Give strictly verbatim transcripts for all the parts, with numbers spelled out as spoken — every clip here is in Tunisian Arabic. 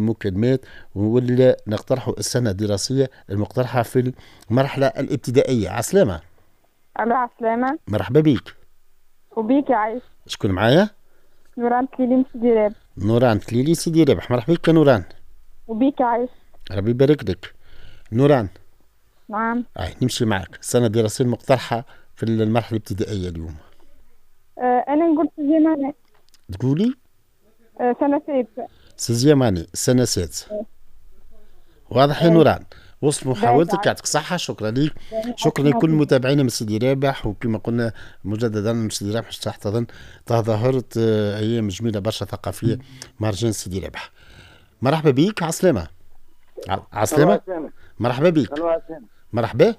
مكالمات ولا نقترحوا السنة الدراسية المقترحة في المرحلة الابتدائية. عسلامة. الو عسلامة. مرحبا بيك. وبيك يا عايش. شكون معايا؟ نوران تليلي من سيدي رابح. نوران تليلي سيدي رابح، مرحبا بك يا نوران. وبيك يا عايش. ربي يبارك لك. نوران. نعم. أي نمشي معك، السنة الدراسية المقترحة في المرحلة الابتدائية اليوم. آه أنا نقول sixième année. تقولي؟ آه سنة سادسة. sixième année، سنة سادسة. واضح يا نوران، وصل محاولتك، يعطيك الصحة، شكرا لك، شكرا لكل متابعينا من سيدي رابح، وكما قلنا مجددا من سيدي رابح تحتضن تظاهرة أيام جميلة برشا ثقافية مهرجان سيدي رابح. مرحبا بك، عسلامة. عسلامة. مرحبا بك. مرحبا.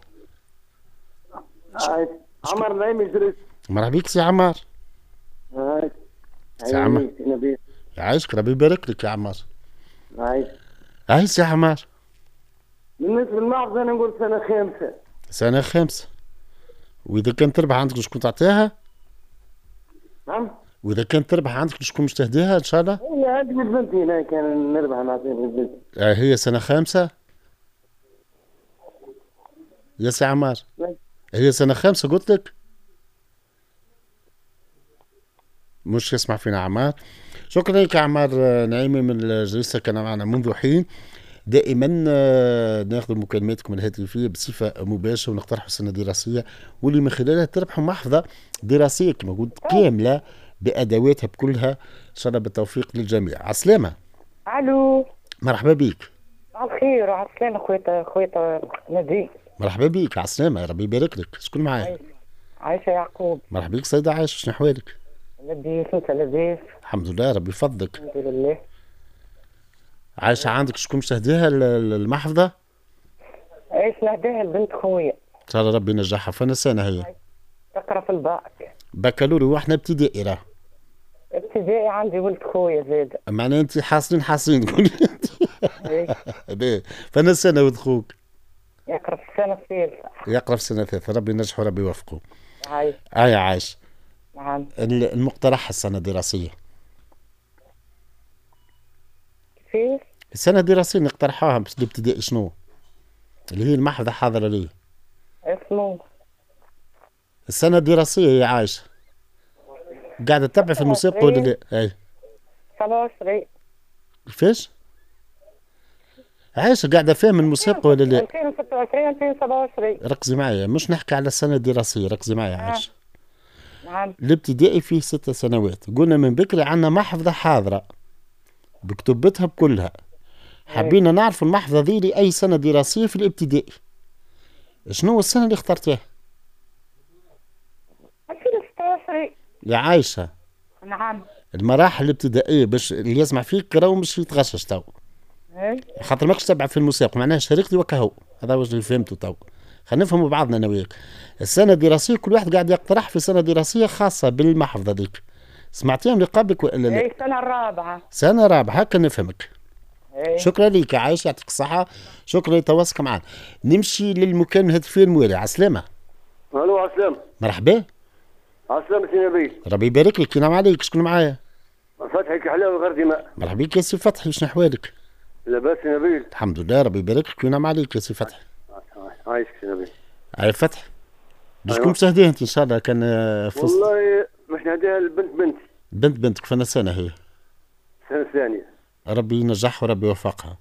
عمر نعيم جريس. مرحبا بك سي عمار. سي عمار. يعيشك ربي يبارك لك يا عمار. عايش. عايش سي عمار. بالنسبة للمحفظة أنا نقول سنة خامسة. سنة خامسة. وإذا كان تربح عندك شكون تعطيها؟ نعم. وإذا كان تربح عندك شكون مش تهديها إن شاء الله؟ هي عندي بنتي هنا كان نربح نعطيها لبنتي. آه هي سنة خامسة؟ يا سي عمار. هي سنة خامسة قلت لك؟ مش يسمع فينا عمار. شكرا لك عمار نعيمي من الجلسة، كان معنا منذ حين. دائما ناخذ مكالماتكم الهاتفية بصفة مباشرة ونقترحوا السنة الدراسية واللي من خلالها تربحوا محفظة دراسية كما قلت كاملة بادواتها بكلها. ان شاء الله بالتوفيق للجميع. عسلامة. الو. مرحبا بك. على الخير وعلى السلامة خويا خويا نبيل. مرحبا بك، عسلامة، ربي يبارك لك. شكون معايا؟ عايشه يعقوب. مرحبا بك سيده عايشه، شنو احوالك؟ لاباس، انت لاباس؟ الحمد لله ربي يفضلك. الحمد لله. عايشة عندك شكون باش تهديها المحفظة؟ عايش نهديها لبنت خويا. إن شاء الله ربي ينجحها، فانا سنة هي؟ تقرا في الباك. بكالوريا وإحنا ابتدائي راه. ابتدائي عندي ولد خويا زاد. معناها أنت حاصلين حاصلين تقولي أنت. إيه. فانا سنة ولد خوك؟ يقرا في السنة الثالثة. يقرا في السنة الثالثة، ربي ينجحه وربي يوفقه. عايش. آه عايش. نعم. المقترح السنة الدراسية. كيفاش؟ السنة الدراسية نقترحوها باش الابتدائي شنو؟ اللي هي المحفظة حاضرة ليه؟ اسمو السنة الدراسية يا عايشة. قاعدة تتبع في المسابقة ولا لا؟ أي. سبعة وعشرين. كيفاش؟ عايشة قاعدة فاهم المسابقة ولا لا؟ ألفين وستة وعشرين ألفين وسبعة وعشرين. ركزي معايا، مش نحكي على السنة الدراسية، ركزي معايا عايشة. نعم. الابتدائي فيه ست سنوات، قلنا من بكري عندنا محفظة حاضرة بكتبتها بكلها. حبينا نعرف المحفظة ذي لأي سنة دراسية في الابتدائي. شنو السنة اللي اخترتيها؟ ألفين وستة وعشرين. يا عايشة. نعم. المراحل الابتدائية باش اللي يسمع فيك راهو مش يتغشش تو. خاطر ماكش تبع في المسابقة، معناها شاركتي وكهو، هذا هو اللي فهمته تو. خلينا نفهموا بعضنا انا وياك. السنة الدراسية كل واحد قاعد يقترح في سنة دراسية خاصة بالمحفظة ذيك. سمعتيهم اللي قبلك ولا لا؟ اي سنة رابعة. سنة رابعة هكا نفهمك. ايه. شكرا لك يا عايشة، يعطيك الصحة، شكرا لتواصلك معنا. نمشي للمكالمة الهاتفية الموالية. عسلامة. الو عسلامة. مرحبا. عسلامة سي نبيل. ربي يبارك لك، ينعم عليك، شكون معايا؟ فتحي كحلاوي غير دماء. مرحبا بك يا سي فتحي، شنو احوالك؟ لاباس سي نبيل. الحمد لله ربي يبارك لك وينعم عليك يا سي فتحي. عايشك سي نبيل. عاي فتحي. شكون باش تهديها انت ان شاء الله كان فزت؟ والله باش نهديها لبنت بنتي. بنت بنتك فانا سنة هي؟ السنة الثانية. ربي ينجحها وربي يوفقها.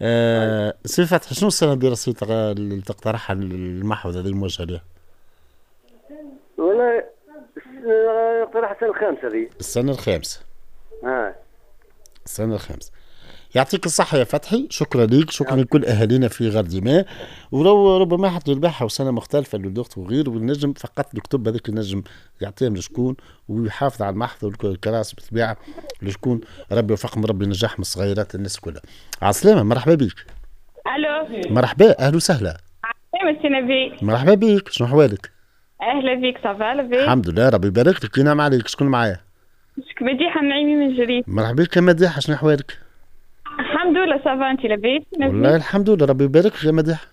آه سي فتحي، شنو السنة الدراسية اللي تقترحها المحفظة هذه الموجهة لها؟ والله اقترح السنة الخامسة ذي. السنة الخامسة. اه السنة الخامسة. يعطيك الصحة يا فتحي، شكرا ليك، شكرا لكل أهالينا في غرديماء، ولو ربما حتى يربحها وسنة مختلفة للوقت وغيره، والنجم فقط الكتب هذاك النجم يعطيهم لشكون ويحافظ على المحفظة والكراس بالطبيعة لشكون، ربي يوفقهم ربي ينجحهم الصغيرات الناس كلها. عسلامة، مرحبا بك. ألو. مرحبا، أهلا وسهلا. عسلامة سي نبيل. مرحبا بك، شنو أحوالك؟ أهلا بك، ça va لاباس؟ الحمد لله ربي يبارك لك، ينعم عليك، شكون معايا؟ مديحة نعيمي من جريد. مرحبا بك يا مديحة، شنو أحوالك؟ الحمد لله ça va، انت لاباس؟ والله الحمد لله ربي يبارك لك يا مديحة.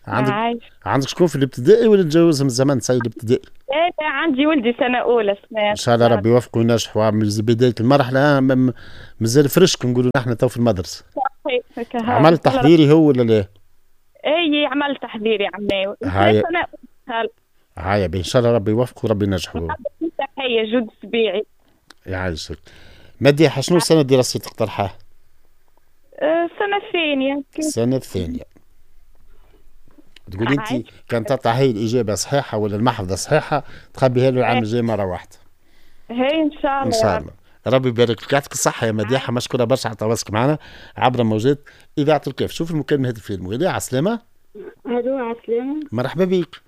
عندك عايش. عندك شكون في الابتدائي ولا تجوزهم الزمن سيد الابتدائي؟ لا لا عندي ولدي سنة أولى سنة. إن شاء الله ربي يوفقه وينجح، بداية المرحلة مازال فرشك نقولوا نحن تو في المدرسة. صحيح. عمل تحضيري هو ولا لا؟ اي عمل تحضيري عملناه. هاي سنة أولى. هاي إن شاء الله ربي يوفقه وربي ينجحه. تحية جود سبيعي. يعيشك. مديحة شنو السنة الدراسية تقترحها؟ السنة الثانية. السنة الثانية. تقولي انت كان تطلع هي الاجابة صحيحه ولا المحفظة صحيحه تخبيها له العام الجاي مرة واحدة. هي ان شاء الله. ان شاء الله ربي يبارك لك، يعطيك الصحة يا مديحه، مشكورة برشا على تواصلك معنا عبر موجات اذاعة الكاف. شوف المكالمة الهاتفية الموالية. على السلامة. الو على السلامة. مرحبا بك.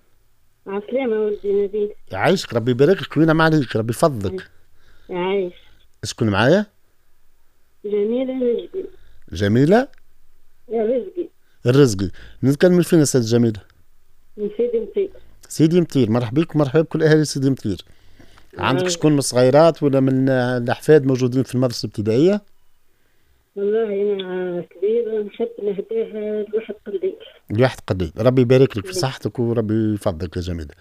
على السلامة ولدي نبيل. يعيشك ربي يبارك لك وينعم عليك ربي يفضلك. يعيش. شكون معايا؟ جميلة الرزقي. جميلة؟ الرزقي. الرزقي، نتكلم فين سيد جميلة؟ من سيدي مطير. سيدي مطير، مرحبا بك ومرحبا بكل اهالي سيدي مطير. عندك شكون من الصغيرات ولا من الاحفاد موجودين في المدرسة الابتدائية؟ والله انا كبير نحب نهداه لواحد قليل. لواحد قليل، ربي يبارك لك في صحتك وربي يفضلك يا جميلة.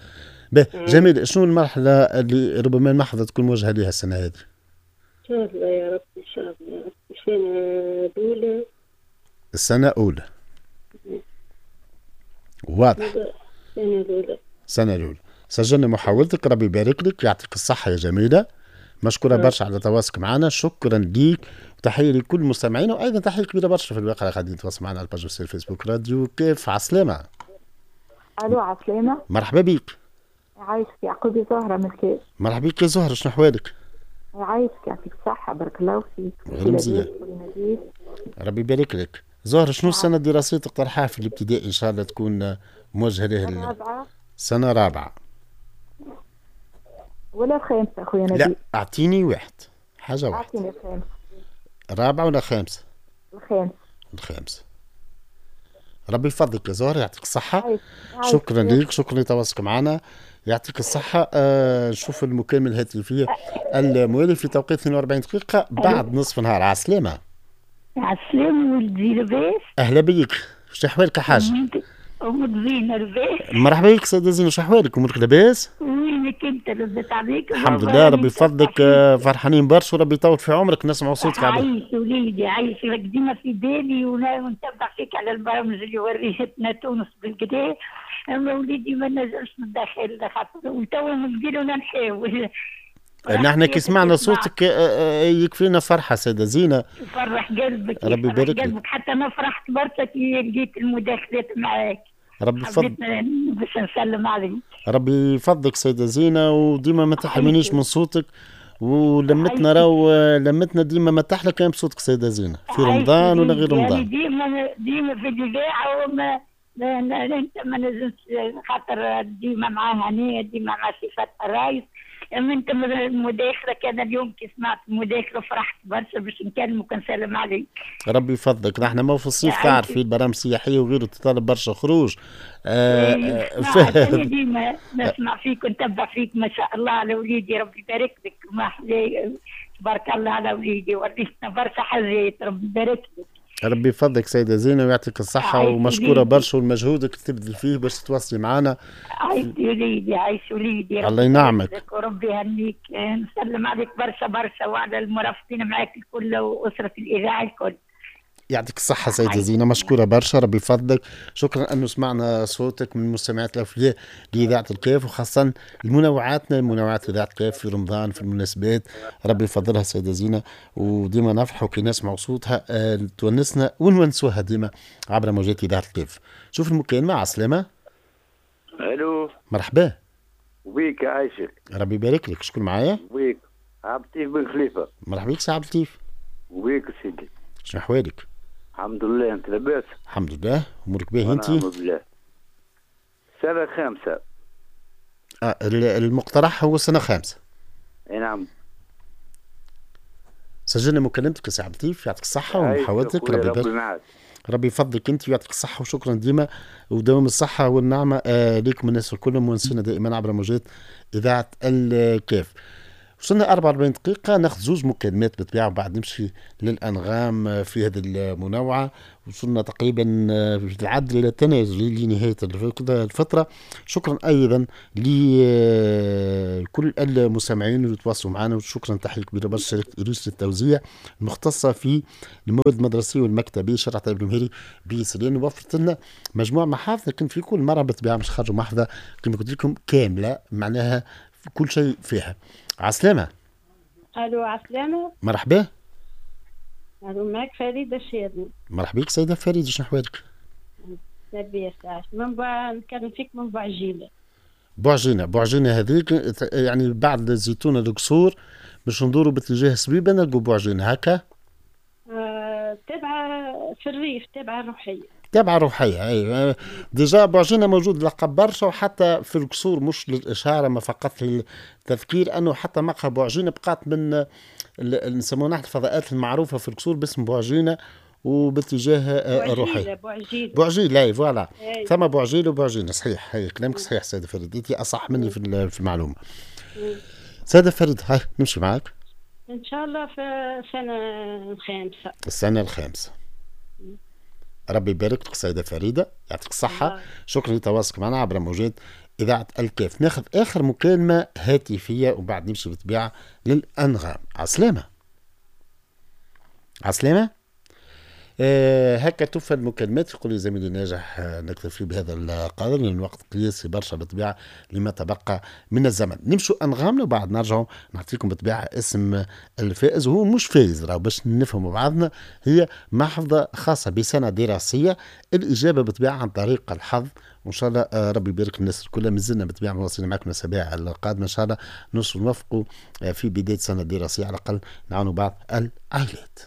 باهي جميلة، شنو المرحلة اللي ربما المحفظة تكون موجهة لها السنة هذه؟ إن شاء الله يا رب، إن شاء الله يا رب، السنة الأولى. السنة الأولى. واضح. السنة الأولى. السنة الأولى. سجلنا محاولتك، ربي يبارك لك، يعطيك الصحة يا جميلة. مشكورة برشا على تواصلك معنا، شكرا ليك وتحية لكل المستمعين، وأيضا تحية كبيرة برشا في الواقع اللي قاعدين يتواصلوا معنا على ال page officielle فيسبوك راديو كيف. عسلامة. ألو عسلامة. مرحبا بك. عايشك يعقوبي زهرة من الكاف. مرحبا بك يا زهرة، شنو أحوالك؟ عايشك يعطيك الصحة، بارك الله فيك. غير مزيان. ربي يبارك لك. زهرة شنو السنة الدراسية تقترحها في الابتدائي إن شاء الله تكون موجهة له؟ رابعة. سنة رابعة. ولا خامسة أخويا نبيل؟ لا أعطيني واحد، حاجة واحدة. أعطيني الخامسة. رابعة ولا خامسة؟ الخامسة. الخامسة. ربي يفضلك يا زهرة، يعطيك الصحة. شكرا لك، شكرا لتواصلك معنا، يعطيك الصحة. آه نشوف المكالمة الهاتفية الموالي في توقيت اثنين وأربعين دقيقة بعد نصف النهار. على السلامة. على السلامة ولدي، لاباس؟ أهلا بيك، شو أحوالك يا حاج؟ أمك زينة لاباس؟ مرحبا بك سيدة زينة، شو أحوالك؟ أمورك لاباس؟ وينك أنت لاباس عليك؟ الحمد لله ربي يفضلك، فرحانين برشا وربي يطول في عمرك، نسمعوا صوتك. عايش وليدي عايش، راك ديما في بالي ونتبع فيك على البرامج اللي وريتنا تونس بالكدا، أما وليدي ما نجمش نتدخل خاطر وتوا نديرو نحاول. نحن كي سمعنا صوتك يكفينا فرحة سيدة زينة. يفرح قلبك، ربي يبارك لك. قلبك حتى أنا فرحت برشا كي لقيت المداخلات معاك. ربي يفضلك باش نسلم عليك. ربي يفضلك سيدة زينة، وديما ما تحرمنيش من صوتك، ولمتنا راهو لمتنا ديما ما تحلى كان بصوتك سيدة زينة في رمضان ولا غير رمضان. يعني ديما ديما في الإذاعة وما انت ما نزلتش خاطر ديما معاها هنية، ديما مع صفات الرايس. اما انت المداخلة كان اليوم كي سمعت المداخلة فرحت برشا باش نكلمك ونسلم عليك. ربي يفضلك. نحن ما في الصيف تعرفي البرامج السياحية وغيره تطالب برشا خروج. آه آه ديما نسمع فيك ونتبع فيك، ما شاء الله على وليدي، ربي يبارك لك، ما تبارك الله على وليدي، وريتنا برشا حاجات، ربي يبارك لك. ربي يفضلك سيدة زينة ويعطيك الصحة، ومشكورة برشا والمجهودك تبذل فيه باش تتواصلي معنا. عايش وليدي، عايش وليدي، الله ينعمك وربي يهنيك. نسلم عليك برشا برشا وعلى المرافقين معاك الكل وأسرة الإذاعة الكل. يعطيك الصحة سيدة زينة، مشكورة برشا، ربي يفضلك. شكرا أنه سمعنا صوتك من المستمعات الأوفياء لإذاعة الكاف، وخاصة المنوعاتنا منوعات إذاعة الكاف في رمضان في المناسبات، ربي يفضلها سيدة زينة، وديما نفرحوا كي نسمعوا صوتها، آه، تونسنا ونونسوها ديما عبر موجات إذاعة الكاف. شوف المكالمة. على السلامة. ألو مرحبا. وبيك عايشك، ربي يبارك لك. شكون معايا؟ وبيك عبد اللطيف بن خليفة. مرحبا بك سي عبد اللطيف. وبيك سيدي، شنو أحوالك؟ الحمد لله، انت لاباس؟ الحمد لله، امورك باهي انت؟ الحمد لله. سنة خامسة. آه المقترح هو سنة خامسة. اي نعم. سجلنا مكالمتك سي عبد اللطيف، يعطيك الصحة ومحاولتك، ربي يبارك، ربي يفضلك انت ويعطيك الصحة، وشكرا ديما ودوام الصحة والنعمة آه ليكم الناس الكل، مونسينا دائما عبر موجات إذاعة الكاف. وصلنا أربعة وأربعين دقيقة، ناخذ زوز مكالمات بالطبيعة وبعد نمشي للأنغام في هذه المنوعة. وصلنا تقريبا في العدل إلى التنازل لنهاية الفترة. شكرا أيضا لكل المستمعين اللي تواصلوا معنا، وشكرا تحية كبيرة برشا شركة إيروس للتوزيع المختصة في المواد المدرسية والمكتبية شارع طيب المهيري بسليان، وفرت لنا مجموعة محافظ، لكن في كل مرة بالطبيعة مش خرجوا محفظة كما قلت لكم كاملة، معناها كل شيء فيها. عسلامة. الو عسلامة. مرحبا. الو معك فريدة الشيرني. مرحبا بك سيدة فريدة، شنو احوالك؟ لاباس من بع... نكلم فيك من بوعجينة. بوعجينة، بوعجينة هذيك يعني بعد الزيتونة القصور باش ندوروا باتجاه سبيبة نلقوا بوعجينة هكا؟ آه، تابعة في الريف، تابعة الروحية. تابعة روحية اي déjà بوعجينة موجود لقب برشا، وحتى في القصور مش للإشارة ما فقط للتذكير أنه حتى مقهى بوعجينة بقات من نسموها نحن الفضاءات المعروفة في القصور باسم بوعجينة وباتجاه الروحية. بوعجيلة بوعجيلة اي voilà، ثم بوعجيلة وبوعجينة. صحيح هي كلامك صحيح سيدة فريد، انت أصح مني في المعلومة. سيدة فريد هاي نمشي معاك إن شاء الله في السنة الخامسة. السنة الخامسة. ربي يبارك لك سيدة فريدة، يعطيك الصحة. شكرا لتواصلك معنا عبر موجات إذاعة الكاف. ناخذ آخر مكالمة هاتفية وبعد نمشي بالطبيعة للأنغام. عسلامة. عسلامة. آه هكا توفى المكالمات. يقول لي زميلي ناجح آه نكتفي بهذا القدر لأن الوقت قياسي برشا بالطبيعة لما تبقى من الزمن. نمشوا أنغامنا وبعد نرجعوا نعطيكم بالطبيعة اسم الفائز، وهو مش فايز راه باش نفهموا بعضنا، هي محفظة خاصة بسنة دراسية. الإجابة بالطبيعة عن طريق الحظ، وإن شاء الله آه ربي يبارك الناس الكل. مازلنا بالطبيعة مواصلين معكم الأسابيع القادمة إن شاء الله نوصل نوفقوا آه في بداية السنة الدراسية على الأقل نعاونوا بعض العائلات.